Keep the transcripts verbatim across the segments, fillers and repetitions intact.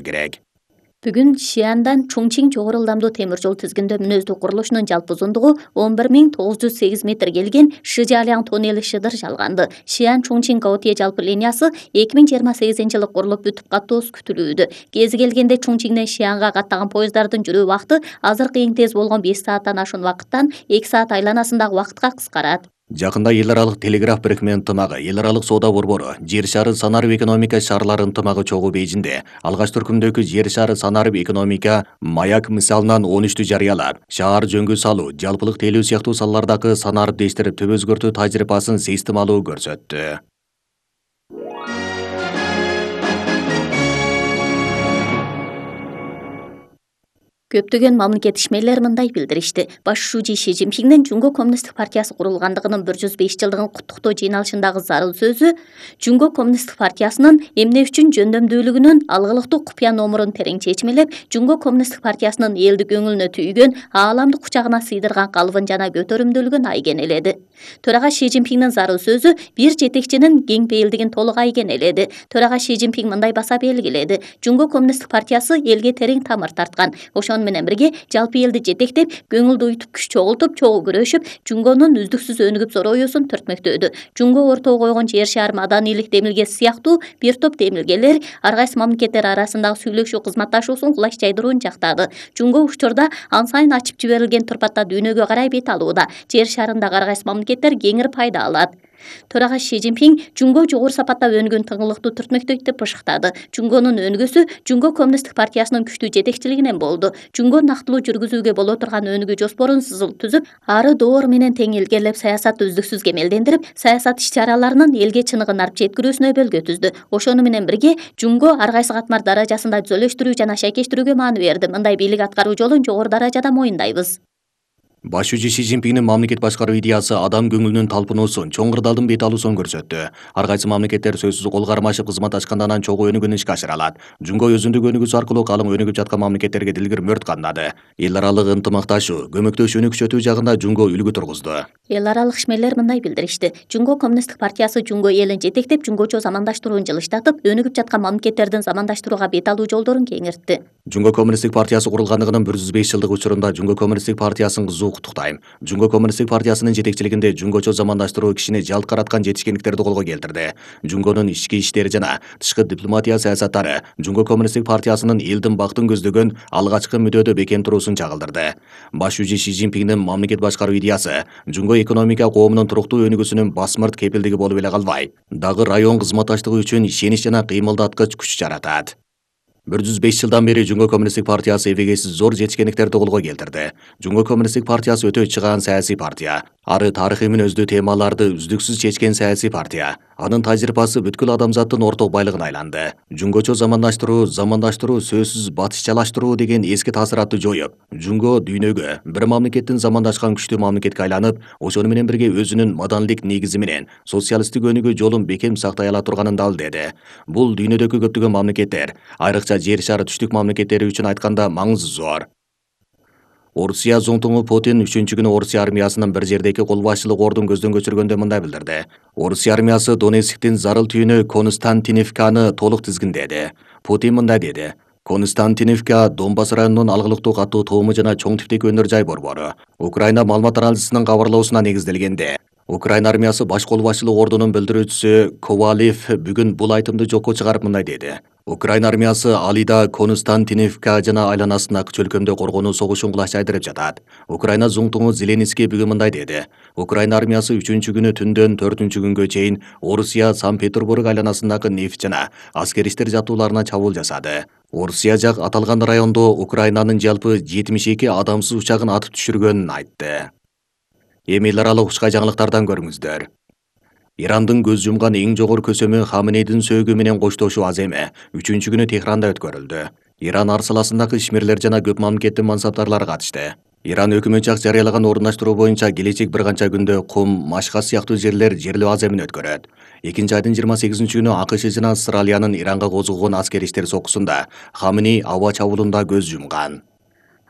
болуу керек. Бүгүн Шиандан Чоңчиң жогору ылдамдуу темир жол тизгиндөө мүнөздүү курулушунун жалпы узундугу он бир миң тогуз жүз сегиз метр келген Шижаляң тоннели шыдыр жалганды. Шиан Чоңчиң Гаотие жалпы линиясы эки миң жыйырма сегизинчи жылы курулуп бүтүп каттоосу күтүлүүдө. Кези келгенде Чоңчиңден Шианга каттаган поезддардын жүрүү убакыты азыркы эң тез болгон беш сааттан ашуун убакыттан эки саат айланасындагы убакытка кыскарат. Жакында эл аралык телеграф бирикме ынтымагы, эл аралык соода борбору, жер шары санарып экономика шаарлары ынтымагы чогуу Бейжинде алгач түркүмдөгү жер шары санарып экономика маяк мисалынан он үчтү жарыялап, шаар жөнгө салуу, жалпылык тейлөө сыяктуу салалардагы санарып дештирип түп өзгөртүү тажрыйбасын системалуу көрсөттү. Көптөгөн мамлекет ишмерлер мындай билдиришти. Башчы Ши Цзиньпиңдин Жунго коммунисттик партиясы курулгандыгынын бир жүз беш жылдыгын куттуктоо жыйналышындагы зарыл сөзү Жунго коммунисттик партиясынын эмне үчүн жөндөмдүүлүгүнүн алгылыктуу купуя номурун терең чечмелеп, Жунго коммунисттик партиясынын элди көңүлүнө түйгөн, ааламдык кучагына сыйдырган калыбын жана көтөрүмдүүлүгүн айгенеледи. Төрага Ши Цзиньпиңдин зарыл сөзү бир жетекчинин кең пейилдигин толук айгенеледи. Төрага Ши Цзиньпиң мындай баса белгиледи: Жунго коммунисттик партиясы элге терең тамыр тарткан. Ошон менен бирге жалпы элди жетектеп, көңүлдү уютуп, күч чогултуп, чогуу күрөшүп, Жунгонун үздүксүз өнүгүп зороюусун түртмөктөдү. Жунго ортого койгон жер шаар маданийлик демилгеси сыяктуу бир топ демилгелер ар кайсы мамлекеттер арасындагы сүйлөшүү кызматташуусун кулач жайдырууну жактады. Жунго учурда ан сайын ачып жиберилген турпатта дүйнөгө карай бет алууда. Жер шарындагы ар кайсы мамлекеттер кеңири пайда алат. Төрага Ши Цзиньпиң Жунго жогору сапатта өнүгөн тыңгылыктуу түртмөктөйт деп бышыктады. Жунгонун өнүгүүсү Жунго коммунисттик партиясынын күчтүү жетекчилигинен болду. Жунго нактылуу жүргүзүүгө боло турган өнүгүү жоспорун сызыл түзүп, ары доор менен тең илгерлеп, саясатты үздүксүз кемелдендирип, саясат иш-чараларынын элге чыныгын арып жеткирүүсүнө өбөлгө түздү. Ошону менен бирге Жунго ар кайсы катмар даражасында түзөлөштүрүү жана шайкештирүүгө маани берди. Мындай бийлик аткаруу жолун жогору даражада моюндайбыз. Башчы Ши Цзиньпиңдин мамлекет башкаруу идеясы адам көңүлүнүн талпынуусун, чоң кырдаалдын бет алуусун көрсөттү. Ар кайсы мамлекеттер сөзсүз кол кармашып кызмат ачкандан анан чогуу өнүгүүнү ишке ашыра алат. Жунго өзүндүк өнүгүүсү аркылуу калың өнүгүп жаткан мамлекеттерге дилгир мөрт кандады. Эл аралык ынтымакташуу, көмөктөшүүнү күчөтүү жагында Жунго үлгү тургузду. Эл аралык ишмерлер мындай билдиришти: Жунго коммунисттик партиясы Жунго элин жетектеп, жунгочо замандаштырууну жылыштатып, өнүгүп жаткан мамлекеттердин замандаштырууга бет алуу жолдорун кеңиртти. Жунго коммунисттик партиясы курулгандыгынын бир жүз беш жылдык учурунда Жунго коммунисттик партиясын кызуу куттуктайм. Жунго коммунисттик партиясынын жетекчилигинде жунгочо замандаштыруу кишини жалт караткан жетишкендиктерди колго келтирди. Жунгонун ички иштери жана тышкы дипломатия саясаттары Жунго коммунисттик партиясынын элдин бактын көздөгөн алгачкы мүдөөдө бекем туруусун чагылдырды. Башчы Ши Цзиньпиңдин мамлекет башкаруу идеясы Жунго экономика коомунун туруктуу өнүгүүсүнүн басмырт кепилдиги болуп эле калбай, дагы район кызматташтыгы үчүн ишенич жана кыймылдаткыч күч жаратат. бир жүз беш жылдан бери Жунго коммунисттик партиясы эбегейсиз зор жетишкендиктерди колго келтирди. Жунго коммунисттик партиясы өтө чыгаан саясий партия. Ары тарыхый мүнөздүү темаларды үздүксүз чечкен саясий партия. Анын тажрыйбасы бүткүл адамзаттын орток байлыгына айланды. Жунгочо замандаштыруу, замандаштыруу сөзсүз батышчалаштыруу деген эски таасыратты жоюп, Жунго дүйнөгө бир мамлекеттин замандашкан күчтүү мамлекетке айланып, ошону менен бирге өзүнүн маданилик негизи менен социалисттик өнүгүү жолун бекем сактай ала турганын далилдеди. Бул дүйнөдөгү көптөгөн мамлекеттер, айрыкча жер шары түштүк мамлекеттери үчүн айтканда маңызы зор. Орусия зонтуңу Путин үчүнчү күнү Орусия армиясынын бир жердеги кол башчылык ордун көздөн өчүргөндө мындай билдирди. Орусия армиясы Донецктин зарыл түйүнү Константиновканы толук тизгиндеди. Путин мындай деди: Константиновка Донбасс районунун алгылыктуу катуу тоому жана чоң типтеги өнөр жай борбору. Украина маалымат арналарынын кабарлоосуна негизделгенде, Украина армиясы баш кол башчылык ордунун билдирүүчүсү Ковалев бүгүн бул айтымды жокко чыгарып мындай деди: Украина армиясы Алида, Константиновка жана айланасындагы чөлкөмдө коргонуу согушун кулаш жайдырып жатат. Украина зуңтуңу Зеленский бүгүн мындай деди: Украина армиясы үчүнчү күнү түндөн төртүнчү күнгө чейин Орусия Санкт-Петербург айланасындагы нефть жана аскер иштер жаттууларына чабуул жасады. Орусия жак аталган райондо Украинанын жалпы жетимиш эки адамсыз учагын атып түшүргөнүн айтты. Эми эл аралык учкай жаңылыктардан көрүңүздөр. Ирандын көз жумган эң жогору көсөмү Хаменейдин сөөгү менен коштошуу аз эме үчүнчү күнү Техранда өткөрүлдү. Иран арсаласындагы ишмерлер жана көп мамлекеттин мансаптарлары катышты. Иран өкмөт жак жарыялаган орундаштыруу боюнча келечек бир канча күндө Кум, Машхас сыяктуу жерлер жерлөө аз эмин өткөрөт. Экинчи айдын жыйырма сегизинчи күнү АКШ жана Австралиянын Иранга козгогон аскер иштер сокусунда Хаменей аба чабуулунда көз жумган.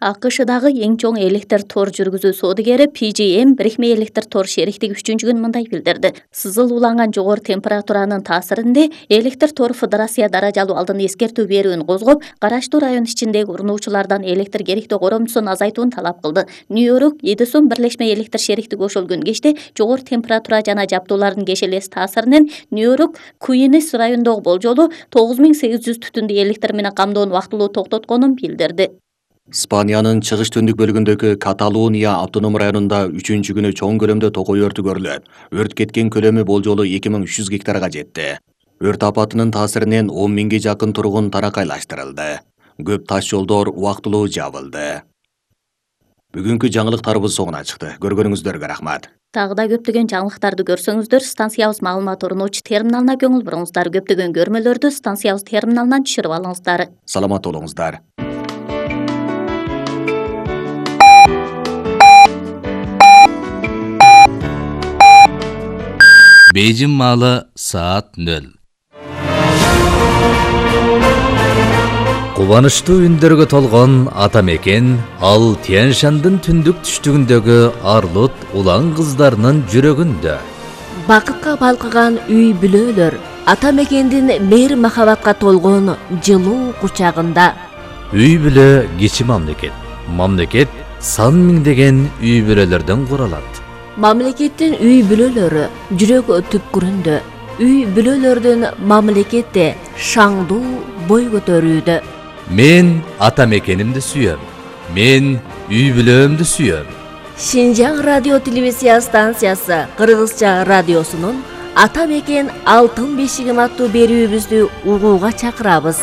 АКШдагы эң чоң электр тор жүргүзүү соодугери пи джи эм бирикме электр тор шериктиги үчүнчү күн мындай билдирди. Сызыл уланган жогору температуранын таасиринде электр тор федерация даражалуу алдын эскертүү берүүнү козгоп, караштуу район ичиндеги урунуучулардан электр керектөө коромчусун азайтууну талап кылды. Нью-Йорк, Эдисон бирлешме электр шериктиги ошолгөн кечте жогору температура жана жабдуулардын кешелес таасиринен Нью-Йорк, Куинс районундагы болжолу тогуз миң сегиз жүз түтүндү электр менен камдоону вактылуу токтотконун билдирди. Испаниянын чыгыш түндүк бөлүгүндөгү Каталуния автоном районунда үчүнчү күнү чоң көлөмдө токой өртү көрүлөт. Өрт кеткен көлөмү болжолу эки миң үч жүз гектарга жетти. Өрт апатынын таасиринен он миңге жакын тургун таракайлаштырылды. Көп таш жолдор убактылуу жабылды. Бүгүнкү жаңылыктарыбыз соңуна чыкты. Көргөнүңүздөргө рахмат. Тагы да көптөгөн жаңылыктарды көрсөңүздөр, станциябыз маалымат орночу терминалына көңүл буруңуздар. Көптөгөн көрмөлөрдү станциябыз терминалынан түшүрүп алыңыздар. Саламат болуңуздар. Бейжин маалы саат нөл. Кубанычтуу үндөргө толгон ата мекен ал Тянь-Шандын түндүк түштүгүндөгү арлут улан кыздарынын жүрөгүндө. Бакытка балкыган үй бүлөлөр ата мекендин мейир махабатка толгон жылуу кучагында. Үй бүлө кичи мамлекет. Мамлекет сан миңдеген үй бүлөлөрдөн куралат. Мамлекеттин үй бүлөлөрү жүрөк түпкүрүндө. Үй бүлөлөрдүн мамлекетте шаңдуу бой көтөрүүдө. Мен ата мекенимди сүйөм. Мен үй бүлөмдү сүйөм. Шинжаң радио телевизия станциясы Кыргызча радиосунун Ата мекен алтын бешигим аттуу берүүбүздү угууга чакырабыз.